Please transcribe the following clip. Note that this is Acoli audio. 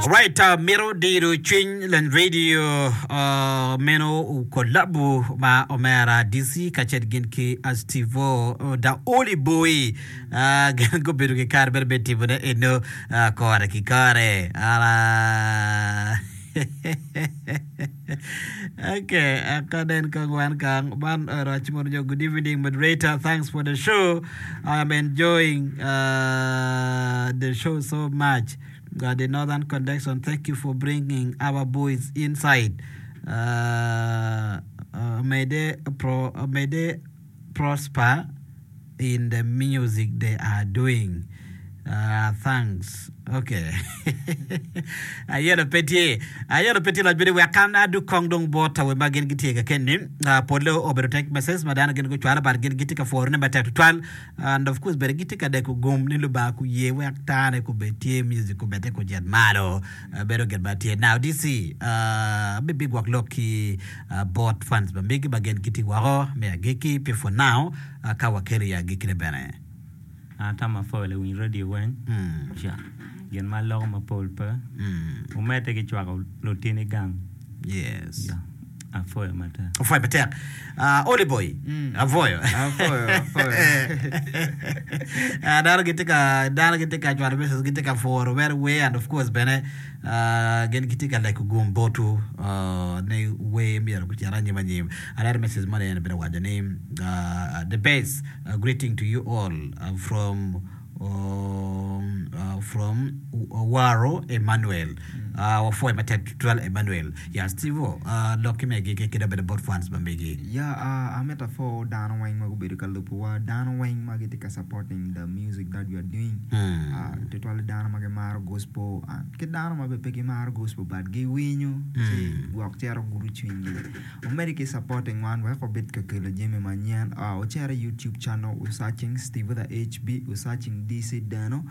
Right, uh, mito diro cwiny lany radio uh, meno kolabu ma omera DC kacel gin ki Astivo uh, da Oli Boy uh, gin gubedo ki kare bene me timone eno uh, kore ki kore. Uh, okay, akanen kong wan kang man orac mono nyo good evening moderator thanks for the show I am enjoying uh, the show so much uh, the northern connection thank you for bringing our boys inside uh, uh, may they pro, uh, may they prosper in the music they are doing uh, thanks okay ayelo pe tye ayelo pe tye loc bene wek an adug kong dong bot awe ma gin gitye ka keni uh, polle obedo text message ma dano gin gucwalo but gin gitye ka pworone matek tutwal and of course bene gitye ka deko gum ni Lubanga kuye wek tane kubed tye music kubedde kucit malo uh, bedo gin ma tye now DC uh, abibigwok lok ki uh, bot fans ma megi ma gin gitye woko me agikki pi for now Ka wakelo i agikkine bene. An atamo apwoyo lawiny radio weng ca gin ma aloko mapol pe wumedde ki cwako lutini gang Yes. ya apwoyo matek. Apwoyo matek. Uh, Oli boy. Apwoyo. Apwoyo, apwoyo. Ah, dano gitye ka dano gitye ka cwalo message gitye ka pworo mere wer and of course bene ah, gin gitye ka leko gum botwu ah, ni wer myero gucit anyim anyim. Aneno message moni en bene owaco ni the best greeting to you all from from Waro Emmanuel wapwoyo matek tutwal Emmanuel ya Steve o lok ki megi ki dok bene bot fans ma megi. Ya amito apwo dano weng ma gubedo ka lubo wa dano weng ma gitye ka supporting the music that we are doing tutwale dano ma gimaro gospel ki dano ma bene pe gimaro gospel but giwinyo ci gwok cito gudo cwinygi. Wumedde ki supporting wan wek wabed ka kelo jami manyen. Wucit i YouTube channel wu searching Steve the HB, wu searching DC Deno.